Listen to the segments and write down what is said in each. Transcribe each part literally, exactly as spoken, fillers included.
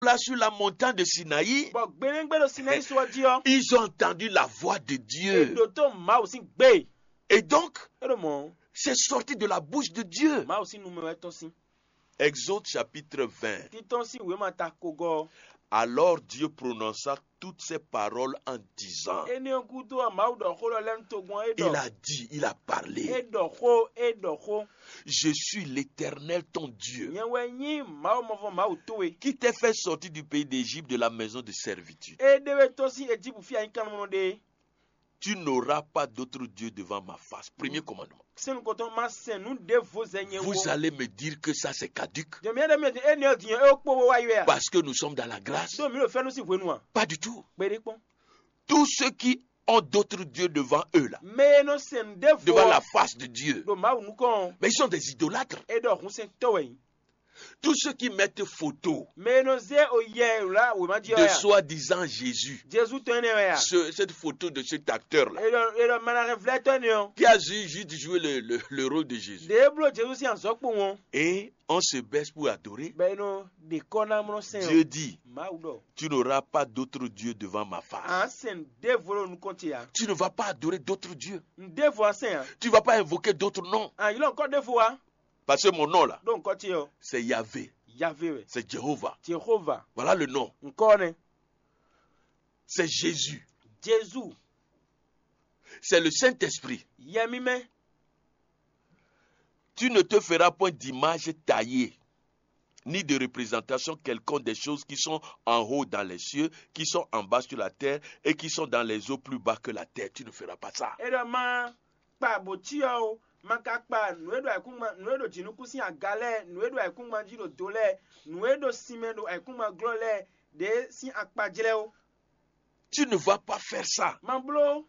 là sur la montagne de Sinaï, Bɔ gbeɖégbé ɖo Sinayi so ɔ́ jí ɔ́, ils ont entendu la voix de è Dieu. ɖǒ tó Mawu sín gbé. Et donc, É ɖo mɔ̌, c'est sorti de la bouche de Dieu. Mawu sín nu mɛ wɛ tɔ́n sín. Exode chapitre vingt. Títɔn sín wěma ta kogɔ. Alors Dieu prononça toutes ces paroles en disant, Énɛ́ ɔ́ gúdo ɔ́, Mawu ɖɔ xó lɔ lɛ́ɛ nú togun ɔ́, é il ɖɔ. a dit, il a É parlé. Ɖɔ xó, é ɖɔ xó. Je suis l'Éternel ton Dieu, Nyɛ wɛ nyí Mawu mɔvɔ Mawu towe, qui t'a fait sortir du pays d'Égypte, de la maison de servitude. É ɖe wɛ tɔ́n sín Ejípu fí anyíkanmɔnɔ ɖe. Tu n'auras pas d'autre Dieu devant ma face. Premier commandement. Sɛn nukɔntɔn ma sɛn nǔ ɖěvo zɛ nyɛ Vous wó. Allez me dire que ça c'est caduc. Jɔmí ɛɖɛ mɛ din énɛ́ ɔ́ din ɔ́, é kpó wá yi wɛ a? Parce que nous sommes dans la grâce. Ɖó mǐ ɖo fɛ́nú sín hwenu a? Pas du tout. Kpeɖé kpɔ́n. Tous ceux qui ont d'autres dieux devant eux là, Mɛ e nɔ sɛn nǔ ɖěvo devant la ɔ́ face de Dieu, ɖo Mawu nukɔn ɔ́, mais ils sont des idolâtres. é ɖɔ hunsɛntɔ́ wɛ nyí. Tous ceux qui mettent photo, Mɛ e nɔ zé oyɛ lá wěma jí ɔ́ de ya. Soi-disant Jésus, Jezu tɔn énɛ́ wɛ ya. ce- cette photo de cet acteur-là, É ɖɔ é ɖɔ manahɛnvlɛ́tɔ́ énɛ́ ɔ́. Qui a ju- juste joué le, le- le rôle de Jésus. Ɖě bló Jezu sín azɔ̌ kpowun ɔ́. Et on se baisse pour adorer. Bɔ é nɔ ɖe kɔ́ ná mlɔ́ sɛn Dieu ɔ́. Dit, Mawu ɖɔ. Tu n'auras pas d'autre Dieu devant ma face. À ń sɛn ɖěvo ɖo nukɔn ce ya. Tu ne vas pas adorer d'autres dieux. N ɖěvo a sɛn ya. Tu ne vas pas invoquer d'autres noms. À ń ylɔ́ nukɔn ɖěvo wa. Parce que mon nom là, Ɖó nukɔn ce ɔ́. C'est Yahvé, Yahvé wɛ. C'est Jéhovah. Jehova. Voilà le nom. Nukɔn nɛ. C'est Jésus. Jezu. C'est le Saint-Esprit. Yɛmimɛ. Tu ne te feras point d'image taillée, ni de représentation quelconque des choses qui sont en haut dans les cieux, qui sont en bas sur la terre et qui sont dans les eaux plus bas que la terre. Tu ne feras pas ça. É ɖɔ má kpa bǒcyɔ o, má ka kpa nǔ e ɖo ayǐkúngban nǔ e ɖo jǐnukún sín aga lɛ́ɛ, nǔ e ɖo ayǐkúngban jí ɖo do lɛ́ɛ, nǔ e ɖo sinmɛ ɖo ayǐkúngban glɔ́ lɛ́ɛ ɖě sín akpajlɛ́ ó. Tu ne vas pas faire ça. Má bló.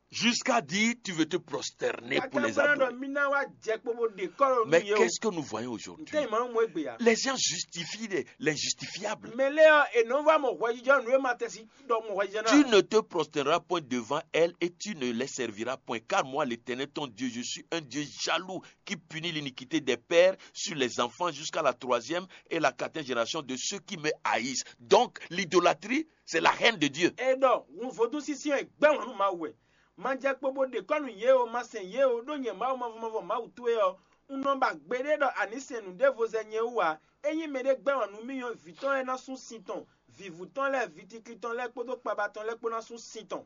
Jusqu'à dire tu veux te prosterner pour les Káká bóná ɖɔ adorer. Mí ná wá jɛ kpo bó ɖe kɔ́ ɖo nú Mais yě o. Qu'est-ce que nous voyons aujourd'hui? Ntɛ́ nyí mɔ̌ mɔ é gbe ya. Les gens justifient les- l'injustifiable. Mɛ lɛ́ɛ ɔ́, è nɔ wá mɔ hwɛjijɔ nǔ e ma tɛ sí ɖɔ mɔ hwɛjijɔ Tu ná. Ne te prosterneras point devant elle et tu ne les serviras point, car moi, l'Éternel ton Dieu, je suis un Dieu jaloux qui punit l'iniquité des pères sur les enfants jusqu'à la troisième et la quatrième génération de ceux qui me haïssent. Donc, l'idolâtrie, c'est la haine de Dieu. É ɖɔ hun vodún sísí ɔ́, è gbɛ́ wǎn nú Mawu wɛ. Ma jɛ kpo bó ɖe kɔ́ nú yě o, ma sɛn yě o, ɖó nyɛ Mawu mavɔ mavɔ Mawu towe ɔ́, un nɔ ba gbeɖé ɖɔ a ní sɛn nǔɖévo zɛ nyɛ wú ǎ. Ényí mɛɖé gbɛ́ wǎn nú mì ɔ́, vǐ tɔn lɛ́ɛ ná sú sin tɔn, vǐvú tɔn lɛ́ɛ, vǐ tiklin tɔn lɛ́ɛ kpódó kpaba tɔn lɛ́ɛ kpó ná sú sin tɔn.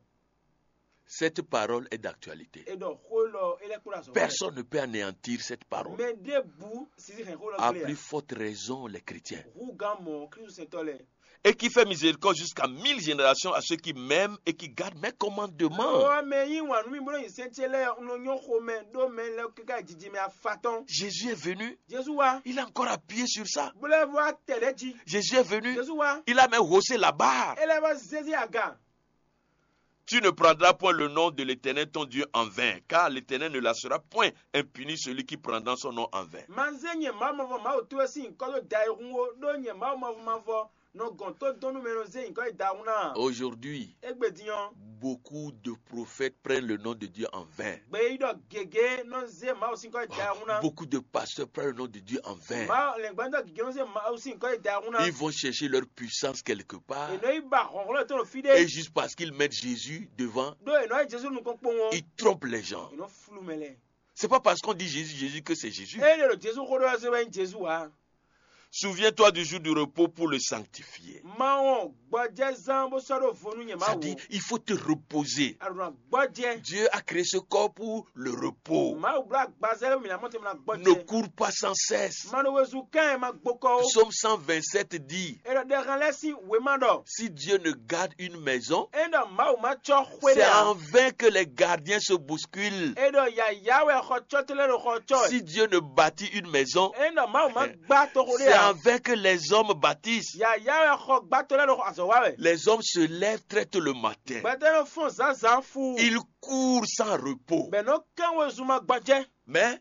Cette parole est d'actualité. É ɖɔ xó élɔ́ é lɛ́ kplɔ́n azɔ̌. Personne ne peut anéantir cette parole. Mɛ ɖěbǔ sisi hɛn xó lɔ À gblé plus ǎ. Forte raison, les chrétiens. Hú gán mɔ Klísu sɛntɔ́ lɛ́ɛ. Et qui fait miséricorde jusqu'à mille générations à ceux qui m'aiment et qui gardent mes commandements. Ɔ mɛ yí wǎn nú mì bó nɔ nyi sɛn ce lɛ́ɛ un nɔ nyɔ́ xomɛ ɖó mɛ lɛ́ɛ káká yi jijimɛ afatɔ́n. Jésus est venu. Jezu wá. Il a encore appuyé sur ça. Bó lɛ́ vɔ tɛ ɖɛ́ jí. Jésus est venu. Jezu wá. Il a même haussé la barre. É lɛ́ vɔ zézé aga. Tu ne prendras point le nom de l'Éternel ton Dieu en vain, car l'Éternel ne laissera point impuni celui qui prendra son nom en vain. Ma zé nyɛ Mawu mavɔ Mawu towe sín nyǐkɔ ɖó da e hun ó, ɖó nyɛ Mawu mavɔ mavɔ nɔ gɔn tó dɔn nú mɛ e nɔ zé nyǐkɔ e da hun ná. Aujourd'hui, Égbé din ɔ́, beaucoup de prophètes prennent le nom de Dieu en vain. Gbeyíɖɔ gěgé nɔ zé Mawu sín nyǐkɔ e da hun ná. Beaucoup de pasteurs prennent le nom de Dieu en vain. Mawu lɛngbɛ́ntɔ́ gěgé nɔ zé Mawu sín nyǐkɔ e da hun ná. Ils vont chercher leur puissance quelque part. È nɔ yi ba hlɔ̌nhlɔ́n tɔn ɖo fí Et ɖé. Juste parce qu'ils mettent Jésus devant, Ɖó è nɔ yi Jezu nukɔn kpowun ɔ́, ils trompent les gens. è nɔ flu mɛ lɛ́ɛ. C'est pas parce qu'on dit Jésus, Jésus que c'est Jésus. Ényí è ɖo Jezu xó ɖɔ ɔ́ zé wɛ nyí Jezu ǎ. Souviens-toi du jour du repos pour le sanctifier. Ma wɔn gbɔjɛzán bó sɔ́ ɖó vo nú nyɛ Mawu. C'est-à-dire, il faut te reposer. Aɖuna gbɔjɛ. Dieu a créé ce corps pour le repos. Mawu bló agbazɛ lé mǐ ná mɔ tɛmɛ ná Ne gbɔjɛ. Cours pas sans cesse. Ma ɖo wezun kán ɛ ma gbokɔ o. Psaume cent vingt-sept dit, È ɖɔ ɖɛhan lɛ́ɛ sín wěma ɖɔ. Si Dieu ne garde une maison, É ɖɔ Mawu ma cɔ xwé c'est ɖé ǎ. En vain que les gardiens se bousculent. É ɖɔ yǎyá wɛ xɔ cɔ́ tɔn lɛ́ɛ ɖo xɔ cɔ́ ɛ. Si Dieu ne bâtit une maison, É ɖɔ Mawu ma gbá toxo ɖé c'est en ǎ. Vain que les hommes bâtissent. Yǎyá wɛ xɔ gbátɔ lɛ́ɛ ɖo azɔ̌ wa wɛ. Les hommes se lèvent très tôt le matin. Gbɛtɔ́ nɔ fɔ́n zǎnzǎn fu. Ils courent sans repos. Bɛ nɔ kán wezun ma gbɔjɛ. Mais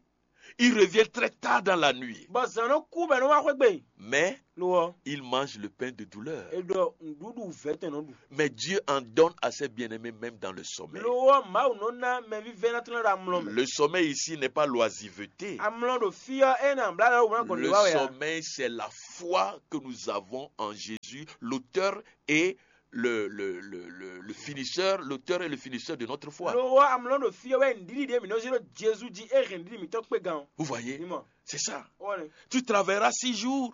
Il revient très tard dans la nuit. Bɔ zǎn nɔ kú bɔ é nɔ wá xwé gbe. Mais Lo ɔ́, il mange le pain de douleur. E ɖɔ nǔɖuɖu vɛ̌ tɔn nɔ ɖu. Mais Dieu en donne à ses bien-aimés même dans le sommeil. Lo ɔ́, Mawu nɔ ná mɛ vívɛ́ná tɔn lɛ́ɛ ɖo amlɔ mɛ. Le sommeil ici n'est pas l'oisiveté. Amlɔ ɖo fí ɔ́, é nɔ amlá ɖo wúná gbɔn Le lě wá wɛ ǎ. Sommeil, c'est la foi que nous avons en Jésus, l'auteur et le, le, le, le, le finisseur, l'auteur et le finisseur de notre foi. Lo ɔ́, amlɔ ɖo fí ɔ́ wɛ nǔɖiɖi ɖé mǐ nɔ zé ɖo Jezu jí é hɛn nǔɖiɖi mǐtɔn kpé gan ɔ́. Vous voyez, Ní mɔ. C'est ça. Ó wà ní. Tu travailleras six jours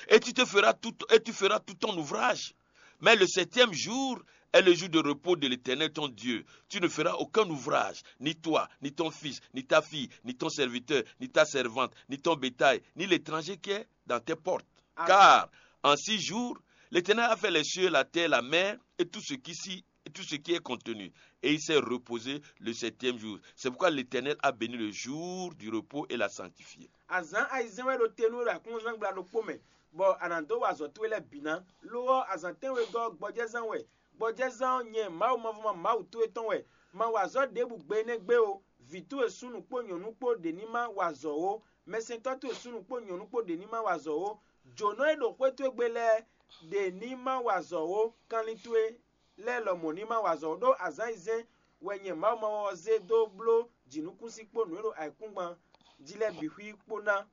et tu te feras tout, et tu feras tout ton ouvrage. Mais le septième jour est le jour de repos de l'Éternel ton Dieu. Tu ne feras aucun ouvrage, ni toi, ni ton fils, ni ta fille, ni ton serviteur, ni ta servante, ni ton bétail, ni l'étranger qui est dans tes portes. Ah. Car en six jours, l'Éternel a fait les cieux, la terre, la mer et tout ce qui s'y et tout ce qui est contenu. Et il s'est reposé le septième jour. C'est pourquoi l'Éternel a béni le jour du repos et l'a sanctifié. Azǎn ayizɛ́n wɛ ɖo te nú we ɖo aklúnɔzán gbla ɖokpó mɛ, bɔ a nǎ dó wa azɔ̌ towe lɛ́ɛ bǐ ná. Lo ɔ́, azǎn tɛ́nwegɔ́ ɔ́ gbɔjɛ́zán wɛ. Gbɔjɛ́zán ɔ́, nyɛ Mawu mavɔmɔ Mawu towe tɔn wɛ. Ma wa azɔ̌ ɖěbǔ gbe énɛ́ gbe ó. Vǐ towe súnnu kpó nyɔ̌nu kpó ɖě ní ma wa azɔ̌ ó. Mɛsɛntɔ́ towe súnnu kpó nyɔ̌nu kpó ɖě ní ma wa azɔ̌ ó. Jǒnɔ e ɖo xwé towe gbe lɛ́ɛ ɖě ní ma wa azɔ̌ ó. Kanlin towe lɛ́ɛ lɔmɔ̌ ní ma wa azɔ̌ ó, ɖó azǎn ayizɛ́n wɛ nyɛ Mawu mavɔmɔ ɔ́ zé dó bló jǐnukúnsin kpó nǔ e ɖo ayǐkúngban jí lɛ́ɛ bǐ xwí kpó ná.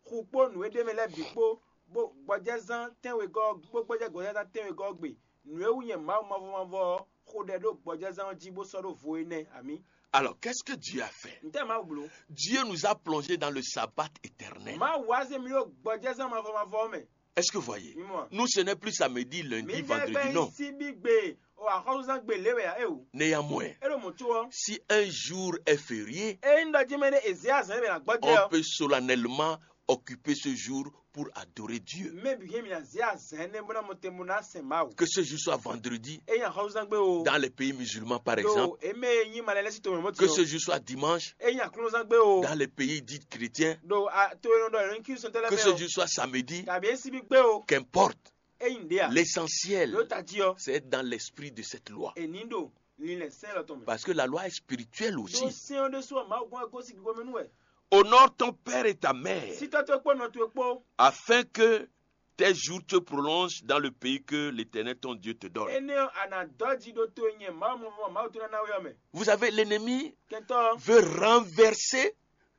Xu kpó nǔ e ɖ'é mɛ lɛ́ɛ bǐ kpó, bó gbɔjɛ́zán tɛ́nwegɔ́ ɔ́, bó gbɔjɛ́ gbɔjɛ́zán tɛ́nwegɔ́ ɔ́ gbe. Nǔ e wú nyɛ Mawu mavɔ mavɔ ɔ́ xo ɖɛ ɖó gbɔjɛ́zán ɔ́ jí bó sɔ́ ɖó vo é nɛ́. Amǐ. Alors, qu'est-ce que Dieu a fait? Ntɛ́ Mawu bló? Dieu nous a plongés dans le sabbat éternel. Mawu wá zé mì ɖó gbɔjɛ́zán mavɔ mavɔ ɔ́ mɛ. Est-ce que vous voyez? Mimɔ. Nous, ce n'est plus samedi, lundi, Mi vendredi, bɛ non. Si bí gbe o axɔ́súzán gbe lé wɛ ǎ é o. Néanmoins, É ɖo mɔ̌ có ɔ́. Si un jour est férié, É nyí ɖɔ jí mɛ ɖé è zě azǎn é mɛ ná gbɔjɛ́ on ɔ́. Peut solennellement occuper ce jour pour adorer Dieu. Mɛ bǐ hɛn mì ná zě azǎn énɛ́ bó ná mɔ te bó ná sɛn Mawu. Que ce jour soit vendredi, É nyí axɔ́súzán gbe o. Dans les pays musulmans, par exemple, Ɖo é mɛ e nyí malɛ lɛ́ sí to mɛ mɔ que ti ce ɔ́. jour soit dimanche, É nyí aklúnɔzán gbe o. Dans les pays dits chrétiens, Ɖo a- to e nɔ ɖɔ ɛlɔn kí sɔn tɛlɛ que mɛ ce o. Jour soit samedi, Tàbí é sí bí gbe o. Qu'importe. É nyí ɖě a. L'essentiel, Ɖo tají ɔ. C'est d'être dans l'esprit de cette loi. Èní ɖo lílẹ̀ sɛ́n lɔ tɔn mɛ. Parce que la loi est spirituelle Ɖó aussi. Sɛ́n ɔ́ ɖésú ɔ́ Mawu gbɔn ɛ gosín gbígbó mɛ nú wɛ. Honore ton père et ta mère, Sítɔ́ towe kpó nɔ towe kpó. Afin que tes jours te prolongent dans le pays que l'Éternel ton Dieu te donne. Énɛ́ ɔ́, a nǎ dɔ́ jí ɖó to e nyɛ Mawu mɔ Mawu tó ná ná we ɔ́ mɛ. Vous savez, l'ennemi Kɛntɔ́ ɔ́, veut renverser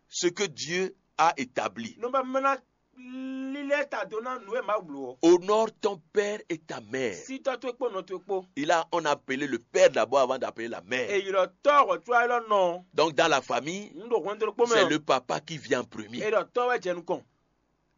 ce que Dieu a établi. nɔ ba mɛ ná lílɛ́ ta dó ná nǔ e Mawu bló ɔ́. Honore ton père et ta mère. Sítɔ́ towe kpó nɔ towe kpó. Et là, on a appelé le père d'abord avant d'appeler la mère. Èyí lɔ tɔ́ ɔ̀hɔ̀tú ayé lɔ nɔ. Donc, dans la famille, Ń ɖo hwɛndo ɖokpó mɛ c'est ɔ. Le papa qui vient en premier. Èyí lɔ tɔ́ wɛ jɛ nukɔn.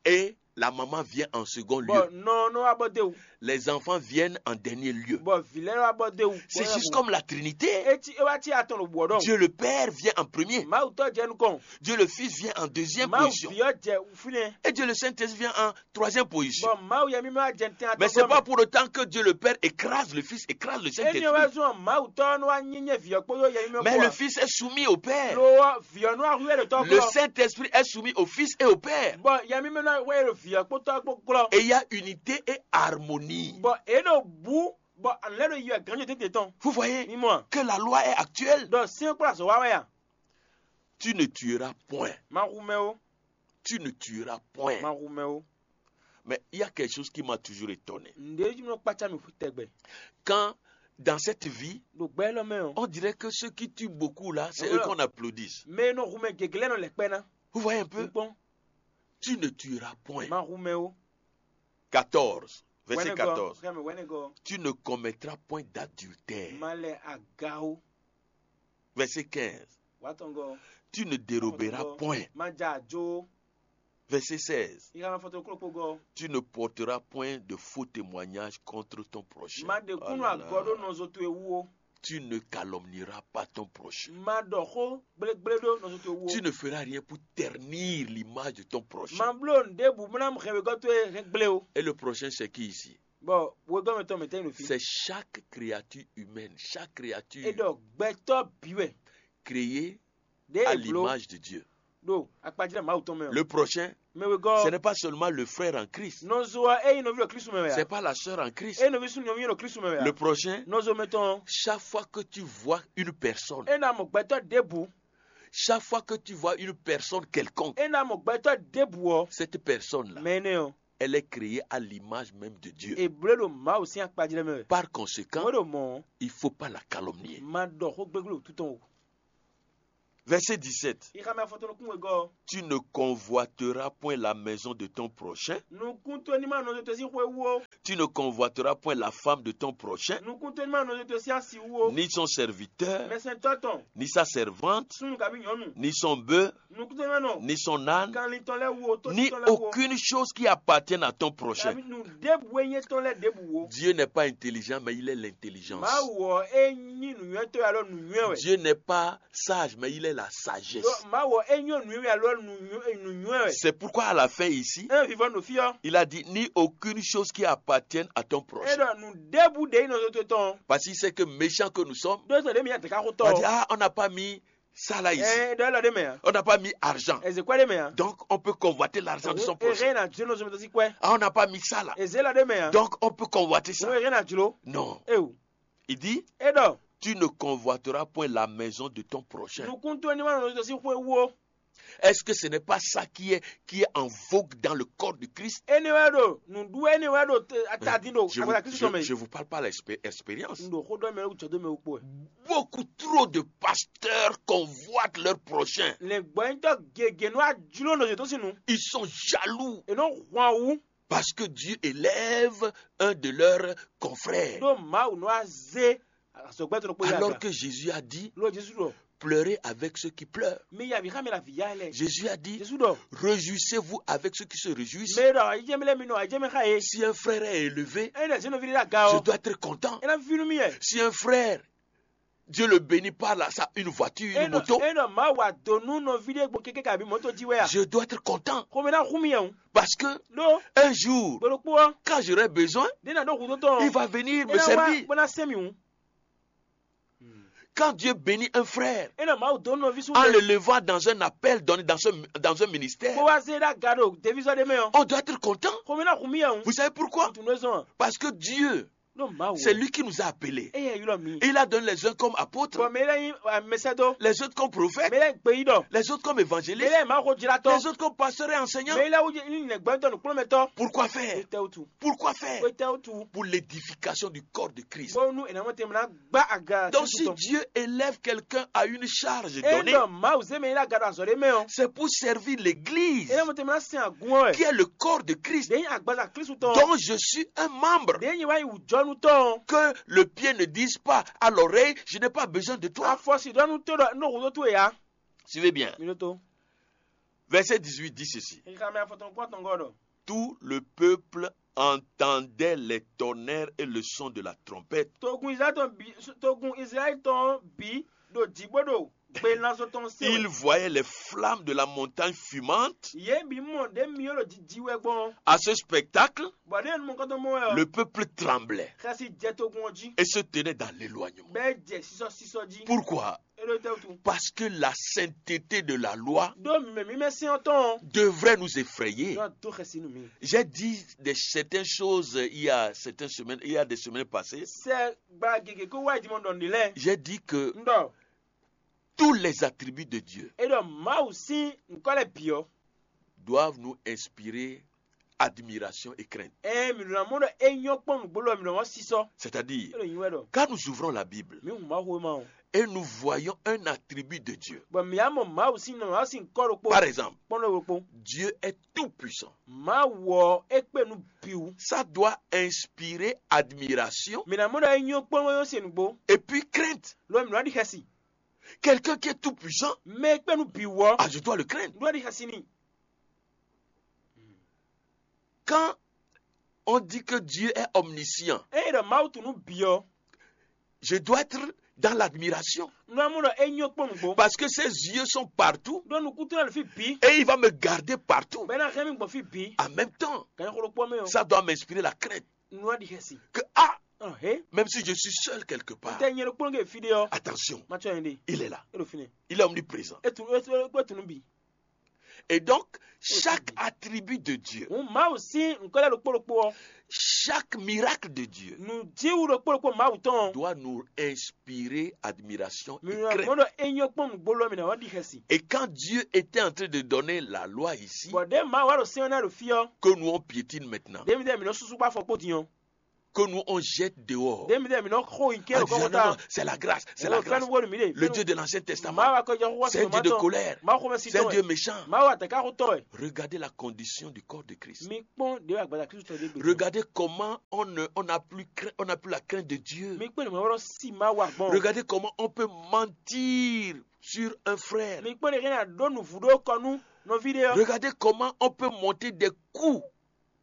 Et la maman vient en second lieu. Bɔ nɔ nɔ wá bɔ déwu. Les enfants viennent en dernier lieu. Bɔ vǐ lɛ́ɛ wá bɔ déwu. C'est juste comme la Trinité. Etí é wá tí atɔn ɖo bǔ ɔ́ ɖɔhun. Dieu le Père vient en premier. Mawu tɔ́ jɛ nukɔn. Dieu le Fils vient en deuxième Mawu position. Vǐ ɔ́ jɛ fínɛ́. Et Dieu le Saint-Esprit vient en troisième position. Bɔ Mawu yɛ mímí wá jɛ tɛn Mais atɔn c'est pas pour autant que Dieu le Père écrase le Fils, écrase le Éni ɔ́ wá Saint-Esprit. Zɔn Mawu tɔ́ nɔ wá nyí nyɛ Vǐ ɔ́ kpódó yɛ mímí Mais le kpó. Fils est soumis au Père. Lo ɔ́ Vǐ ɔ́ nɔ wá hu ɛ ɖo tɔ́ Le glɔ. Saint-Esprit est soumis au Fils et au Père. Bɔ yɛ mímí nɔ wá hu ɛ ɖo Vǐ ɔ́ kpó tɔ́ kpó glɔ. Et il y a unité et harmonie. Bɔ é ɖo bǔ bɔ alɛ ɖo yi wɛ gǎnjɔ tete tɔn. Vous voyez Ní mɔ. Que la loi est actuelle. Ɖɔ sɛ́n kplá azɔ̌ wá wɛ a? Tu ne tueras point. Ma hu mɛ o. Tu ne tueras point. Ma hu mɛ o. Mais il y a quelque chose qui m'a toujours étonné. Ǹdě nɔ kpácá mi tɛgbɛ. Quand, dans cette vie, Ɖo gbɛ lɔ mɛ o. On dirait que ceux qui tuent beaucoup là, c'est Voilà. Eux qu'on applaudisse. Mɛ nɔ hu mɛ gěgé lɛ nɔ lɛ kpɛ ná. Vous voyez un peu? Kpɔn. Tu ne tueras point. Ma hu mɛ o. Quatorze. Verset Wɛnɛgɔ. quatorze. Xɛmɛ wɛnɛgɔ. Tu ne commettras point d'adultère. Ma lɛ aga o. Verset quinze. Wa tɔngɔ. Tu ne déroberas point. Ma ja ajo. Verset seize. Ika ma fɔtɔ kúrò kpogɔ. Tu ne porteras point de faux témoignages contre ton prochain. Ma ɖe kúnnu Oh là là. Agɔ ɖo nɔzo towe wú o. Tu ne calomnieras pas ton prochain. Ma ɖɔ xó gblégblé ɖo nɔzo towe wú o. Tu ne feras rien pour ternir l'image de ton prochain. Ma bló nǔɖé bǔ bó ná mú hɛn wegɔ́ towe hɛn gblé o. Et le prochain, c'est qui ici? Bɔ wegɔ́ mɛ tɔn mɛ tɛ́ nyi nɔ fi. C'est chaque créature humaine, chaque É créature ɖɔ gbɛtɔ́ bǐ wɛ. Créée Ɖé à è bló l'image de Dieu. Ɖo akpajlɛ́ Mawu tɔn mɛ o. Le prochain, Mɛ wegɔ́. Ce n'est pas seulement le frère en Christ. Nɔzo ɔ́ é nyí nɔví ɖo Klísu mɛ wɛ C'est a? Pas la sœur en Christ. É nyí nɔví sún nɔví ɖo Klísu mɛ wɛ a? Le prochain, Nɔzo mɛ tɔn. Chaque fois que tu vois une personne, É ná mɔ gbɛtɔ́ ɖěbǔ. Chaque fois que tu vois une personne quelconque, É ná mɔ gbɛtɔ́ ɖěbǔ ɔ́, cette personne-là, mɛ énɛ́ ɔ́, elle est créée à l'image même de Dieu. È bló ɖo Mawu sín akpajlɛ́ mɛ wɛ. Par conséquent, Wé ɖo mɔ̌ ɔ́, il ne faut pas la calomnier. Ma ɖɔ xó gbégbé ɖo títɔn o. Verset dix-sept. Ixamɛ afɔtɔn nukún wegɔ́ ɔ́. Tu ne convoiteras point la maison de ton prochain. Nukún towe ní ma nɔ nɔzo towe sín xwé wú ó. Tu ne convoiteras point la femme de ton prochain, Nukún towe ní ma nɔ nɔzo towe sín asi wú ó. Ni son serviteur, Mɛsɛntɔ́ tɔn, ni sa servante, Súnnu kabí nyɔ̌nu. Ni son bœuf, Nukún towe ní ma nɔ ni son âne, Kanlin tɔn lɛ́ɛ wú ó, tósi ni tɔn lɛ́ɛ wú ó. Aucune chose qui appartienne à ton prochain. Kabí nǔ ɖěbǔ e nyí étɔn lɛ́ɛ ɖěbǔ wú ó. Dieu n'est pas intelligent, mais il est l'intelligence. Mawu ɔ́, é nyí nǔnywɛ́tɔ́ wɛ alɔ nǔnywɛ́ wɛ. Dieu n'est pas sage, mais il est la sagesse. Ɖó Mawu ɔ́, é nyí nǔnywɛ́ alɔ nǔnywɛ́ wɛ. C'est pourquoi à la fin ici, É vivɔ ɖo fí ɔ́. Il a dit, ni aucune chose qui appartienne à ton prochain. É ɖɔ nǔ ɖěbǔ ɖě nyí nɔzo towe tɔn. Parce qu'il sait que méchant que nous sommes, Ɖó sɔ́ ɖě mǐ nya dɛ̌ ká xó tɔn. On va dire, ah, on n'a pas mis ça là ici. Ɛ ɖɔ élɔ́ ɖé mɛ ǎ. On n'a pas mis argent. Ɛ zě kwɛ́ ɖé mɛ ǎ. Donc, on peut convoiter l'argent de son prochain. Ɛ hɛn ná jló nɔzo mɛ tɔn sín kwɛ́. Ah, on n'a pas mis ça là. Ɛ zě élɔ́ ɖé mɛ ǎ. Donc, on peut convoiter ça. Ɛ hɛn ná jló. Non. Eo. Il dit, É ɖɔ tu ne convoiteras point la maison de ton prochain. Nukún towe ní ma nɔ nɔzo tɔn sín xwé wú ó. Est-ce que ce n'est pas ça qui est, qui est en vogue dans le corps de Christ? Énɛ́ wɛ ɖo nǔɖuɖu énɛ́ wɛ ɖo te- atadín ɖo Je vous, agbada Kristu je, tɔn mɛ. Je vous parle par l'expé- expérience. Un ɖo xó ɖɔ mɛ wú jɔdó mɛ wú kpó wɛ. Beaucoup trop de pasteurs convoitent leur prochain. Lɛ̌ngbɔ́nyitɔ́ gěgé nɔ ajló nɔ yětɔn sín nu. Ils sont jaloux. È nɔ hwan wú. Parce que Dieu élève un de leurs confrères. Ɖó Mawu nɔ azé azɔ̌gbɛ́ tɔn ɖokpó yi Alors aga. Que Jésus a dit, Lɔ Jesu ɖɔ, pleurez avec ceux qui pleurent. Mi ya vǐ xá mi la vǐ ya lɛ. Jésus a dit, Jesu ɖɔ, réjouissez-vous avec ceux qui se réjouissent. Mɛ ɖɔ ayijɛ mi lɛ mi nɔ ayijɛ mi xá ye. Si un frère est élevé, Ɛ ɖe zé nɔví ɖe aga je ɔ. Dois être content. Ɛ ná fi nú mi yɛ. Si un frère, Dieu le bénit par là, ça, une voiture, une Ɛ moto, nɔ ɛ nɔ Mawu wa do nú nɔví ɖe gbɔn kéké kabi mɔto jí wɛ a. Je dois être content. Xɔmɛ ná xú mi yɛ o. Parce que Ɖó un jour, gbɔdɔkpó ɔ. Quand j'aurai besoin, Ɖé na ɖó hudó tɔn. Il va venir me Ɛ ná wá servir. Bó ná sɛn mi o. Quand Dieu bénit un frère, Ɛ nɔ Mawu dó nɔví sún. En le levant dans un appel donné dans, ce- dans un ministère, Bó wá zé ɖá ga ɖo devízɔ ɖé mɛ ɔ. On Doit être content. Xɔmɛ ná xú mi yɛ o. Vous savez pourquoi? Tunu zɔn. Parce que Dieu, Ɖó Mawu. C'est lui qui nous a appelés. Eye ylɔ mi. Il a donné les uns comme apôtres, Bɔn mɛ lɛ yin amɛsɛdó. Les autres comme prophètes, Mɛ lɛ yin gbeyíɖɔ. Les autres comme Mɛ évangélistes, lɛ yin Mawu jlatɔ. Les autres comme pasteurs et enseignants. Mɛ lɛ yin nɛgbɛntɔ nukplɔnmɛtɔ. Pourquoi faire? Wetɛwutu. Pourquoi faire? Wetɛwutu. Pour l'édification du corps de Christ. Bɔnu ɛnɛmɔ tɛmɛ na gba aga. Donc si Dieu élève quelqu'un à une charge donnée, Ena Mawu zé mɛ yi ɖo aga ɖo azɔ̌ ɖé mɛ ɔ. C'est pour servir l'église, Ena mɔ tɛmɛ na sɛn agun ɔ wɛ. Qui est le corps de Christ, Ɖe yin agbaza Kristu tɔn. Dont je suis un membre. Ɖe yin wa yin wujɔnu tɔn. Que le pied ne dise pas à l'oreille, je n'ai pas besoin de toi. Afɔ si ɖɔ nu to ɖɔ no hu to to ya. Suivez bien. Mi ɖo to. Verset dix-huit dit ceci. Xixamɛ afɔtɔn kpɔtɔn gɔ ɖɔ. Tout le peuple entendait les tonnerres et le son de la trompette. Togun Israɛl tɔn bi togun Israɛl tɔn bi ɖo jǐ bó ɖo gbelanzɔ tɔn se. Ils voyaient les flammes de la montagne fumante. Yě bǐ mɔ ɖě myɔ ɖo jiji wɛ gbɔn. À ce spectacle, Bɔ ɖě nu mɔkɔtɔn mɔ wɛ ɔ. Le peuple tremblait. Xɛsi jɛ togun ɔ jí. Et se tenait dans l'éloignement. Bɛɛ jɛ sísɔ sísɔ jí. Pourquoi? Parce que la sainteté de la loi devrait nous effrayer. J'ai dit de certaines choses il y a certaines semaines, il y a des semaines passées. J'ai dit que tous les attributs de Dieu doivent nous inspirer admiration et crainte. Ɛ mi ɖo na mɔ ɖɔ e nyɔ kpɔn nugbo lɔ mi ɖo wɔn sisɔ. C'est-à-dire, quand nous ouvrons la Bible, mi hun ma xo ma o. Et nous voyons un attribut de Dieu. Bɔn mi ya mɔ Mawu sin nɔ Mawu sin kɔ ɖokpo. Par exemple, kpɔn ɖo ɖokpo. Dieu est tout puissant. Mawu ɔ e kpe nu biwu. Ça doit inspirer admiration. Mi na mɔ ɖɔ e nyɔ kpɔn wɔn se nugbo. Et puis crainte. Lɔ mi nɔ ɖi xɛsi. Quelqu'un qui est tout puissant, mɛ e kpe nu biwu ɔ. Ah, je dois le craindre. Nɔ ɖi xɛsi ni. Quand on dit que Dieu est omniscient, Eye ɖɔ Mawu tunu bi ɔ. Je dois être dans l'admiration. Nɔ mu ɖɔ e nyɔ kpɔn nugbo. Parce que ses yeux sont partout. Ɖo nukutun na le fi bi. Et il va me garder partout. Bɛ na hɛn mi gbɔn fi bi. En même temps, kan xolo kpɔ mɛ o. Ça doit m'inspirer la crainte. Nua di hɛsi. Que ah, Ɔn he. Même si je suis seul quelque part, Tɛ nyɛ ɖo kpɔn ke fi de ɔ. Attention. Ma tsɔ yɛn de. Il est là. E ɖo fi ne. Il est omniprésent. E tu e tu e tunu bi. Et donc, chaque attribut de Dieu, Hǔn Mawu sín nǔkpɛ́lɛ́ ɖokpó ɖokpó ɔ́, chaque miracle de Dieu nǔjíwú ɖokpó ɖokpó Mawu tɔn ɔ́, doit nous inspirer admiration et mǐ nɔ crainte. Mɔ ɖɔ é nyɔ́ kpɔ́n nǔgbó lɔ mǐ ná wá ɖi xɛsi. Et quand Dieu était en train de donner la loi ici, Bɔ ɖěe Mawu wá ɖo sɛ́n ɔ́ ná ɖo fí ɔ́, que nous on piétine maintenant, ɖěmǐ ɖě mǐ nɔ súsú kpá afɔ kpó din ɔ́, que nous on jette dehors. Ɖěmǐ ɖě mǐ nɔ xo nyi kɛ́ Ah, ɖo Dieu, non, kɔ́xota. Non, c'est la grâce, c'est la grâce. Fɛ́núgbó nú mǐ ɖe. Le Dieu de l'Ancien Testament, Mawu akɔjɔ xó c'est un Dieu de colère, Mawu xomɛ si c'est un tɔn Dieu wɛ. Méchant. Mawu atɛ̌nkáxotɔ́ wɛ. Regardez la condition du corps de Christ. Mi kpɔ́n ɖě wɛ agbaza Kristu tɔn ɖé gbe. Regardez comment on ne, on n'a plus craint, on n'a plus la crainte de Dieu. Mi kpɔ́n nǔmɛ wɛ́ si Mawu agbɔn. Regardez comment on peut mentir sur un frère. Mi kpɔ́n ɖě hɛn ná ɖó nǔvú ɖó kɔ nú nɔví ɖé ɔ́. Regardez comment on peut monter des coups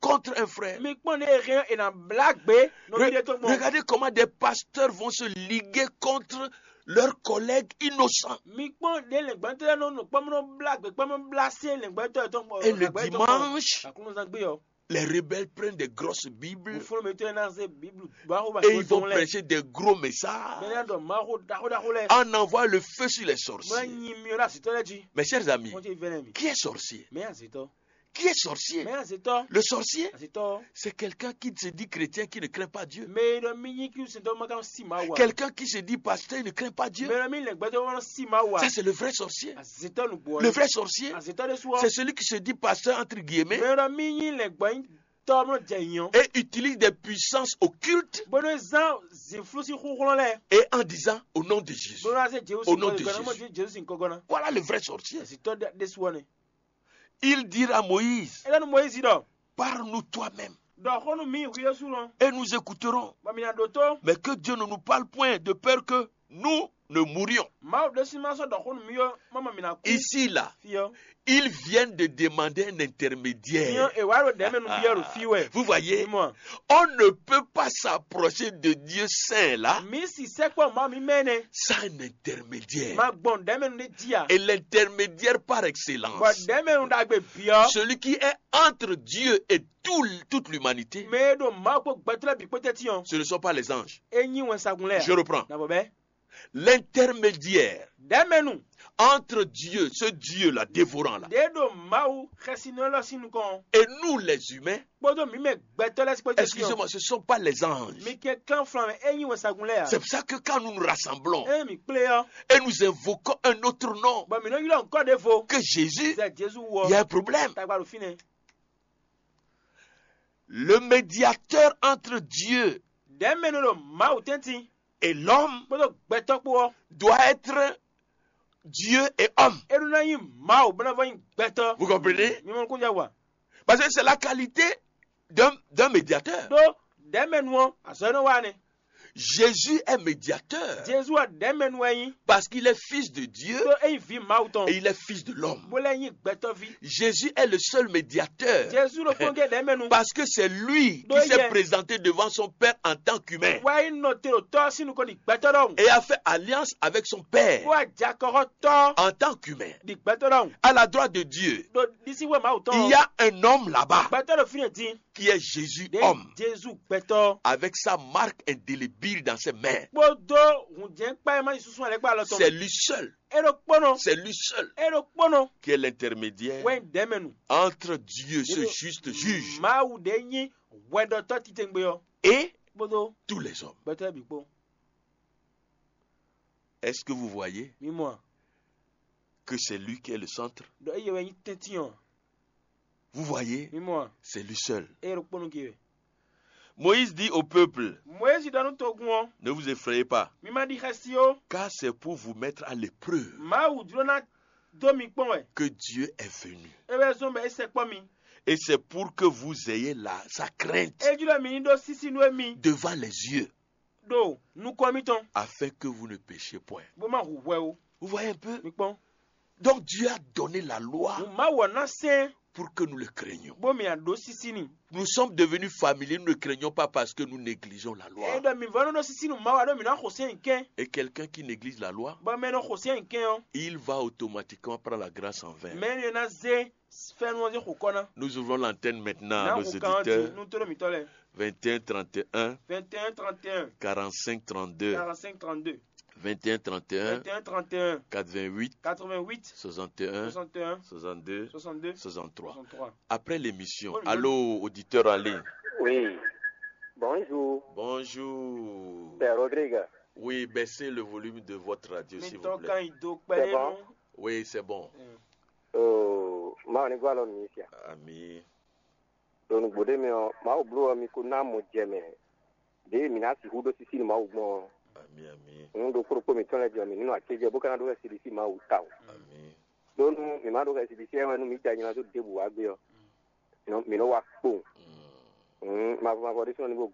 contre un frère. Mi kpɔ́n ɖě hɛn è nǎ blá gbě nɔví ɖé tɔn gbɔn. Regardez comment des pasteurs vont se liguer contre leurs collègues innocents. Mi kpɔ́n ɖě lɛ̌ngbɔ́ntɔ́ lɛ́ɛ nɔ nɔ kpɔ́n nɔ blá gbě kpɔ́n nɔ blá sé lɛ̌ngbɔ́ntɔ́ tɔn gbɔn. Et le dimanche, Aklúnɔzán gbé ɔ́. Les rebelles prennent des grosses Bibles. Fúnnu mi tɔn ná zé Bíblu bá xó ba Et ils vont prêcher des gros messages. Bẹ́ẹ̀ ni ɖɔ Mawu ɖaxó ɖaxó lɛ. En envoie le feu sur les Mɛ sorciers. Nyi mi ɔ́ ɖo azitɔ lɛ jí. Mes chers amis, Wọ́n ti vɛlɛ mi. Qui est sorcier? Mɛ azitɔ. Qui est sorcier? Mɛ azitɔ. Le sorcier, Azitɔ. C'est quelqu'un qui se dit chrétien, qui ne craint pas Dieu. Mɛ e ɖɔ mi nyi kí sɛntɔ ma kan si ma wa. Quelqu'un qui se dit pasteur, il ne craint pas Dieu. Mɛ e ɖɔ mi lɛ gbɛtɔ ma si ma wa. Ça, c'est le vrai sorcier. Azitɔ nugbo. Le vrai sorcier, Azitɔ de sua. C'est celui qui se dit pasteur, entre guillemets, Mɛ e ɖɔ mi nyi lɛ gbɔ tɔ mɔ jɛ yɔn. Et utilise des puissances occultes. Bónú zan zinflusi xúxlɔ́n lɛ. Et en disant au nom de Jésus. Bónú ase Jésus Au nom de Jésus. Jésus sin kɔgɔna. Voilà le vrai sorcier. Azitɔ de sua ne. Il dit à Moïse, Ele nu Moyizi ɖɔ. Parle-nous toi-même. Ɖɔ xó nú mi hwi ɖésú lɔn. Et nous écouterons. Bɔ mi na ɖo tó. Mais que Dieu ne nous parle point de peur que nous ne mourions. Mawu ɖésú ma sɔ́ ɖɔ xó nú mi ɔ́, mama mi na kú. Ici, là, Fi ɔ́. Ils viennent de demander un intermédiaire. Nyɔ e wá ɖo ɖɛ̌ mɛ nú byɔ́ ɖo fí wɛ. Vous voyez, Mɔ. On ne peut pas s'approcher de Dieu saint là. Mi si sɛkpɔ ma mi mɛ nɛ. Sans un intermédiaire. Ma gbɔn ɖɛ̌ mɛ nú ɖe jí a. Et l'intermédiaire par excellence. Bɔ ɖɛ̌ mɛ nú ɖagbe byɔ́. Celui qui est entre Dieu et tout, toute l'humanité. Mɛ e ɖo Mawu kpó gbɛtɔ́ lɛ́ɛ bǐ kpó tɛ́ntin ɔ́. Ce ne sont pas les anges. É nyí wɛnsagun lɛ́ɛ. Je reprends. Na bɔ bɛ́. L'intermédiaire Ɖɛ̌ mɛ nú. Entre Dieu, ce Dieu-là dévorant là, Ɖě ɖo Mawu xɛsinɔ élɔ́ sín nukɔn. Et nous les humains, Kpódó mǐ mɛ gbɛtɔ́ lɛ́ɛ sí kpódó Excusez-moi, ce ne sont pas les anges. Mi kɛ kán flan mɛ é nyí wɛnsagun lɛ́ɛ ǎ. C'est pour ça que quand nous nous rassemblons É mi kplé ɔ́. Et nous invoquons un autre nom Bɔ mǐ nɔ ylɔ́ nǔkɔ ɖěvo. Que Jésus, Zɛ Jezu wɔ. Il y a un problème. Tagba ɖo fínɛ́. Le médiateur entre Dieu Ɖɛ̌ mɛ nɔ ɖo Mawu tɛ́ntin. Et l'homme Kpódó gbɛtɔ́ kpó ɔ́. Doit être Dieu et homme. É ɖó ná nyí Mawu bó ná vɔ nyí gbɛtɔ́. Vous comprenez? Mi mɔ nukúnjɛ wa. Parce que c'est la qualité d'un d'un médiateur. Ɖó ɖɛ̌ mɛ nu ɔ́ azɔ̌ énɛ́ wa nɛ. Jésus est médiateur. Jezu wɛ ɖɛ̌ mɛ nu wɛ nyí. Parce qu'il est fils de Dieu Ɖó é nyí vǐ Mawu tɔn. Et il est fils de l'homme. Bó lɛ́ nyí gbɛtɔ́ví. Jésus est le seul médiateur. Jezu ɖo kpɔ́n gé ɖɛ̌ mɛ nu. Parce que c'est lui qui s'est présenté devant son Père en tant qu'humain. Wá yi nɔ te ɖo tɔ́ sín nukɔn ɖi gbɛtɔ́ ɖɔhun. Et a fait alliance avec son Père Bó wá jɛ akɔxɔ tɔ́ en tant qu'humain. Ɖi gbɛtɔ́ ɖɔhun. À la droite de Dieu, Ɖo ɖisíxwé Mawu tɔn. Il y a un homme là-bas Gbɛtɔ́ ɖo fínɛ́ din. Qui est Jésus Ɖě homme. Jezu gbɛtɔ́. Avec sa marque indélébile dans ses mains. Kpódó hǔnjɛ́n kpá e ma nyí susu alɛ́ kpá alɔ tɔn. C'est lui seul. É ɖo kpɔ́nɔ. C'est lui seul É ɖo kpɔ́nɔ. Qui est l'intermédiaire Wɛn ɖɛ̌ mɛ nu. Entre Dieu, ce juste juge, Mawu ɖě nyí hwɛɖɔtɔ́ titewungbe ɔ́. Et Kpódó tous les hommes. Gbɛtɔ́ bǐ kpó. Est-ce que vous voyez Mi mɔ a? Que c'est lui qui est le centre? Ɖɔ eye wɛ nyí tɛ́ntin ɔ́. Vous voyez? Mi mɔ a? C'est lui seul. Eye ɖo kpɔ́nɔ gé wɛ. Moïse dit au peuple, Moyizi ɖɔ nú togun ɔ́. Ne vous effrayez pas, Mi ma ɖi xɛsi ó. Car c'est pour vous mettre à l'épreuve Mawu jló ná dó mi kpɔ́n wɛ. Que Dieu est venu. É wɛ zɔ́n bɔ é sɛkpɔ́ mi. Et c'est pour que vous ayez la, sa crainte. É jló mi ní ɖó sísí nú émi. Devant les yeux. Ɖo nukɔn mitɔn. Afin que vous ne péchiez point. Bó má hu hwɛ ó. Vous voyez un peu? Mi kpɔ́n. Donc Dieu a donné la loi. Mawu ɔ́ ná sɛn. Pour que nous le craignions. Bó mi a ɖó sísí ni. Nous sommes devenus familiers, nous ne craignons pas parce que nous négligeons la loi. É ɖɔ mi vɔ nɔ ɖó sísí nu Mawu a ɖó mi ná xo sɛn kɛn. Et quelqu'un qui néglige la loi, Bɔ mɛ nɔ xo sɛn kɛn ɔ́. Il va automatiquement prendre la grâce en vain. Mɛ ni ná zé fɛnu ɔ́ zé xo kɔ ná. Nous ouvrons l'antenne maintenant à nos auditeurs. Nú tɔ́ mitɔ lɛ. Vingt et un trente et un, Vingt et un trente et un, quarante-cinq trente-deux. Quarante-cinq trente-deux. vingt et un trente et un, vingt et un trente et un, quatre-vingt-huit, quatre-vingt-huit, soixante et un, soixante et un, soixante-deux, soixante-deux, soixante-trois. Soixante-trois. Après l'émission, allô, auditeur en ligne. Oui. Bonjour. Bonjour. C'est Rodrigue. Oui, baissez le volume de votre radio, s'il vous plaît. C'est bon? Oui, c'est bon. Oh, Mawu ní gɔ́ alɔ nǔ nyi fia. Ami. Ɖo nǔgbó ɖé mɛ ɔ́, Mawu bló ɔ́, mi ko ná mɔ jɛ mɛ. Ɖěe mǐ ná sixú ɖó sísí nú Mawu gbɔn ɔ́, ami, ami. Nǔ ɖokpó ɖokpó mǐtɔn lɛ́ɛ jɛ mǐ ní nɔ acéjɛ bó ka ná ɖó xɛsi ɖisí Mawu tawun. Ami. Ɖó nú mǐ ma ɖó xɛsi ɖisí ɛ wɛ nú mǐ jɛ anyla dó ɖěbǔ wá gbé ɔ́, mǐ nɔ wá kpowun. Mm. Mavɔ mavɔ ɖésú nɔ ní bó gɔ́